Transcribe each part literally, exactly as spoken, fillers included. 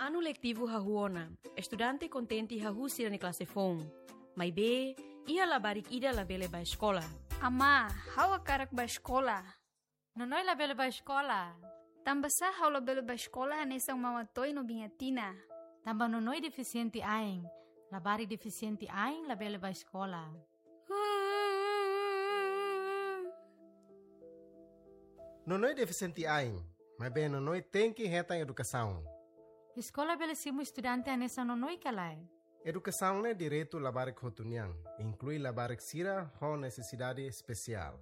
Anu letivu hahú ona, estudante kontente hahú sira-nia klase foun. Maibé, iha labarik ida labele bá eskola. Amá, ha'u hakarak bá eskola. Nonoi labele bá eskola. Tanbasá ha'u labele bá eskola hanesan Mama Toy no Biña Tina? Tanba Nonoi defisiente ain. Labarik defisiente ain labele bá eskola. Nonoi defisiente ain, maibé Nonoi tenke hetan edukasaun. Eskola bele simu estudante hanesan Nonoi ka lae? Edukasaun ne'e direitu labarik hotu nian, inklui labarik sira ho nesesidade espesiál.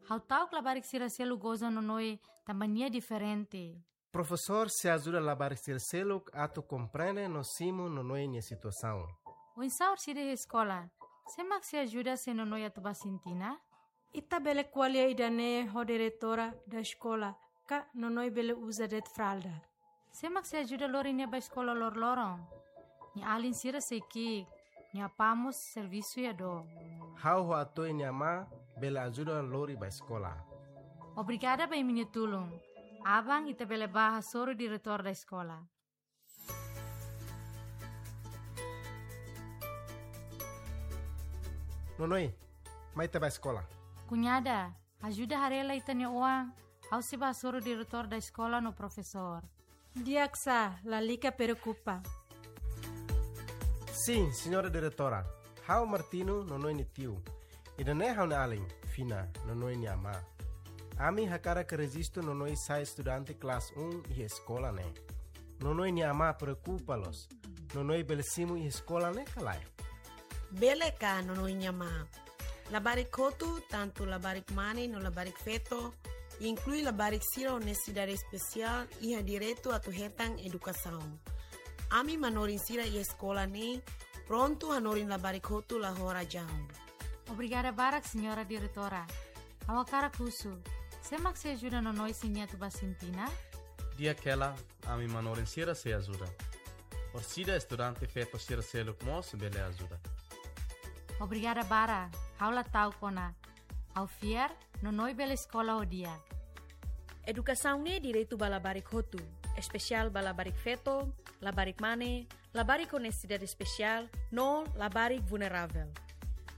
Ha'u ta'uk labarik sira seluk goza Nonoi tanba nia diferente. Profesór sei ajuda labarik sira seluk atu komprende no simu Nonoi nia situasaun. Oinsá orsida iha eskola? Sé mak sei ajuda se Nonoi atu bá sintina? Ita bele ko'alia ida-ne'e ho diretora da eskola, ka Nonoi bele uza de'it fralda. Sé mak sei ajuda lori nia bá eskola loroloron? Nia alin sira sei ki'ik, nia apá mós servisu iha dook. Ha'u ho Atoy nia amá bele ajuda lori bá eskola. Obrigada ba imi-nia tulun. Aban ita bele bá hasoru diretór da eskola. Nonoi, mai ita bá eskola. Kuñada, ajuda haree lai ita-nia oan, ha'u sei bá hasoru diretór da eskola no profesór. Di'ak sá, lalika preokupa. Sin, señora diretora. Ha'u Martino, Nonoi nia tiu. Ida-ne'e ha'u-nia alin, Fina, Nonoi nia amá. Ami hakarak rejistu Nonoi sai estudante klase um iha eskola ne'e. Nonoi nia amá preokupa loos. Nonoi bele simu iha eskola ne'e ka lae? Bele ka, Nonoi nia amá. Labarik hotu, tantu labarik mane no labarik feto, inklui labarik sira ho nesesidade espesiál, iha direitu atu hetan edukasaun. Ami manorin sira iha eskola ne'e prontu hanorin labarik hotu la ho razaun. Obrigada barak, señora diretora. Ha'u hakarak husu, sé mak sei ajuda Nonoi se nia atu bá sintina? Di'ak hela, ami manorin sira sei ajuda. Orsida estudante feto sira seluk mós bele ajuda. Obrigada barak, ha'u la ta'uk ona. Ha'u fiar, Nonoi bele eskola ho di'ak. Edukasaun ne'e direitu ba labarik hotu, espesiál ba labarik feto, labarik mane, labarik ho nesesidade espesiál, no labarik vulneravel.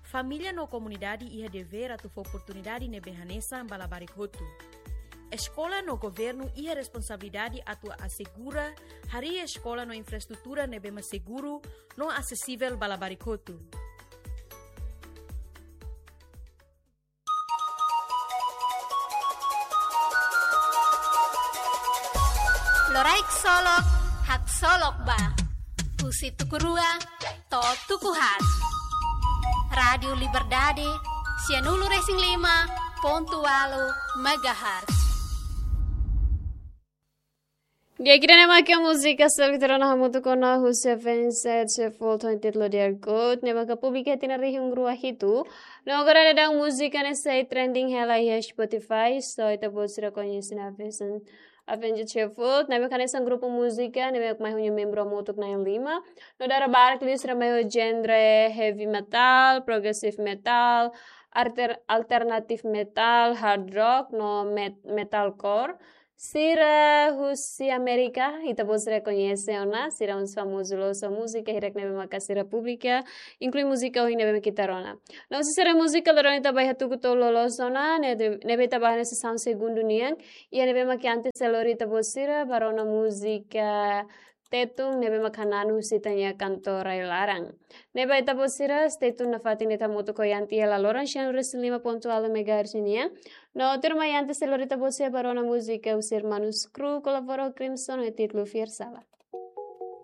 Família no komunidade iha devér atu fó oportunidade ne'ebé hanesan ba labarik hotu. Eskola no governu iha responsabilidade atu asegura harii eskola no infraestrutura ne'ebé mak seguru no asesivel ba labarik hotu. Loraik solok, haksolok ba. Husi tuku rua to'o tuku haat. Rádiu Liberdade, sianulu resin lima pontu ualu megahertz. Di'ak, ida-ne'e mak múzika seluk ita rona hamutuk ona husi Avenged Sevenfold ho títulu Dear God, ne'ebé maka publika tinan rihun rua hitu. No agora daudaun múzika ne'e sei trending hela iha Spotify, so ita-boot sira koñese ona Avenged, Avenged Sevenfold, ne'ebé hanesan grupu múzika ne'ebé mai ho nia membru hamutuk na'in lima. No dala barak liu sira mai ho genre heavy metal, progressive metal, alter-, alternative metal, hard rock, no met-, metalcore. Sira husi Amérika, ita-boot sira koñese ona, sira husi famozu loos ho múzika hirak ne'ebé maka sira publika, inklui múzika ohin ne'ebé maka ita rona. No husi sira múzika loron ita bá hatuku to'o loloos ona, ne'e, ne'ebé ita bá hanesan segundu nian, iha ne'ebé maka antes sei lori ita-boot sira bá rona múzika Tetun ne'ebé maka hananu husi ita-nia kantora rai-laran. Ne'ebé ita-boot sira stay tune nafatin ita hamutuk ho Yanti iha la loron sianulu resin lima pontu ualu megahertz nian. No tuirmai Yanti sei lori ita-boot sira bá rona múzika husi Hermanos Crew kolabora ho Crimson ho títulu Fiar Sala.